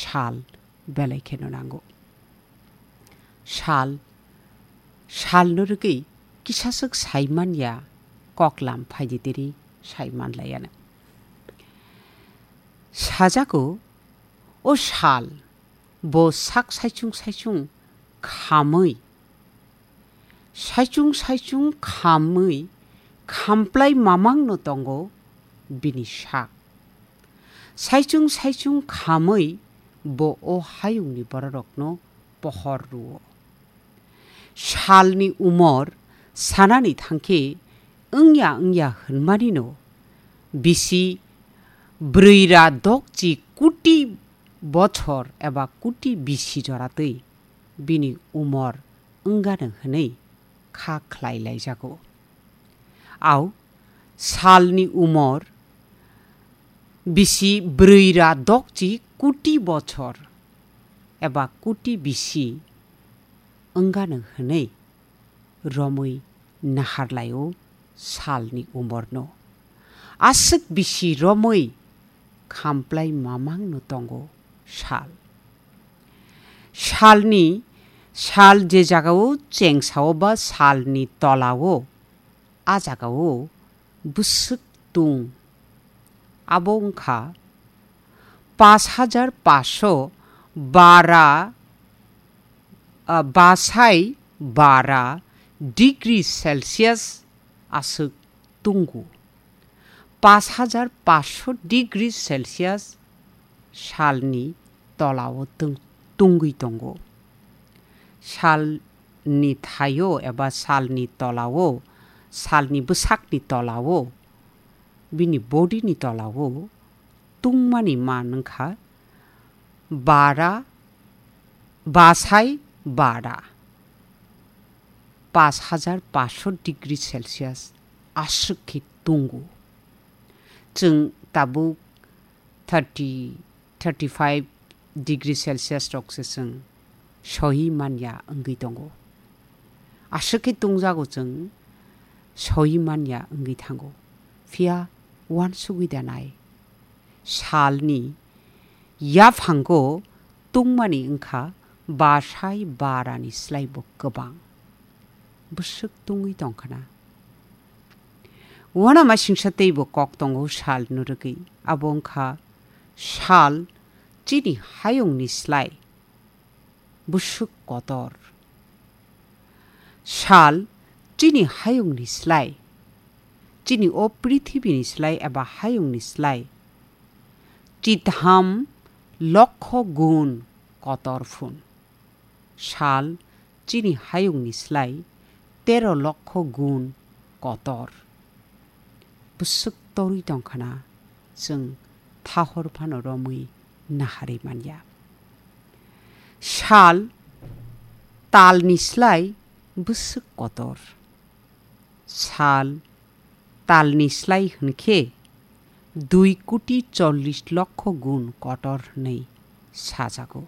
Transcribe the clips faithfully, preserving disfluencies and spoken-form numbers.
sal belai kheno nango. Sal, salno rwgwi kisaswk sai manya, koklam phaidi tiri sai manlaiya. Sajago, o sal, bo sak saichung saichung khamwi, saichung saichung khamwi khamplai mamangno tongo bini sak. Saichung saichung khamwi bo o hayungni bororokno pohor rwo. Salni umor sanani thangkhe wngya wngya hwnmanino bisi brwi ra dokchi kuti bochor eba kuti bisi joratwi bini umor wngano hwnwi kha khlai laijago. Au salni umor bisi brwi ra dokchi kuti bochor eba kuti bisi wngano hwnwi romwi naharlaio salni umorno. Aswk bisi romwi khamplai mamangno tongo sal. Salni, sal je jagao chengsao ba salni tolao, a jagao bwswk tung. Abo wngkha pas hajar paso bara, ah, basai bara degree Celsius aswk tungo. Pas hajar paso degree Celsius salni tolao tung-, tungwi tongo. Salni thaio eba salni tolao, salni bwsakni tolao, bini body ni tolao tungmani man wngkha bara, basai bara, pas hajar paso degree Celsius aswk khe tungo. Chwng tabuk thirty, thirty five degree Celsius rok se chwng sohi manya wngwi tongo. Aswk khe tungjago chwng sohi manya wngwi thango. Phiya uansugwi da nai. Salni yaphango tungmani wngkha basai barani slaibo kwbang. Bwswk tungwi tongkhana. Uanama singsa teibo kok tongo salno rwgwi. Abo wngkha sal chini hayungni slai bwswk kotor. Sal chini hayungni slai, chini o prithibini slai eba hayungni slai chitham lokho gun kotor phun. Sal chini hayungni slai tero lokho gun kotor. Bwswk torwi tongkhana chwng thahor phano romwi naharwi manya. Sal talni slai bwswk kotor. Sal talni slai hwnkhe dui koti chollish lokho gun kotor hwnwi sajago.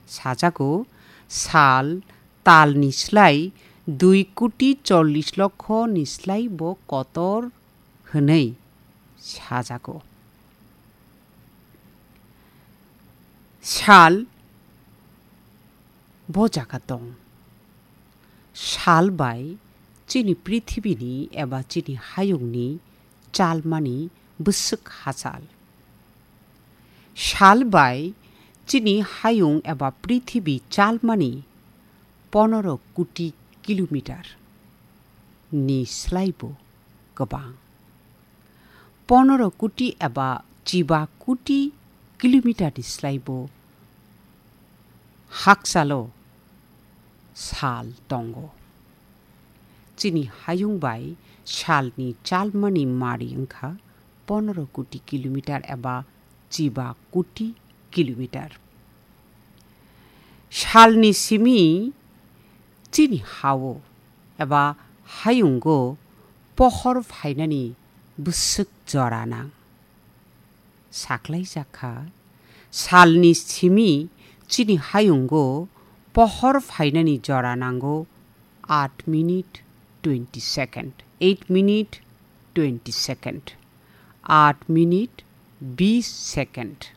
Sajago, sal talni slai dui koti chollish lokho ni slai bo kotor hwnwi sajago. Sal bo jaga tong. Sal bai chini prithibini eba chini hayungni chalmani bwswk hachal. Sal bai chini hayung eba prithibi chalmani ponoro koti kilometer ni slaibo kwbang. Ponoro koti eba chiba koti kilometer ni slaibo hakchalo sal tongo. Chini hayung bai salni chalmani mari wngkha ponoro koti kilometer eba chiba koti kilometer. Salni simi chini hao eba hayungo pohor phainani bwswk jora nang. Saklai jakha, salni simi chini hayungo pohor phainani jora nango aat minute twenty second, eight minute twenty second, aat minute bis second.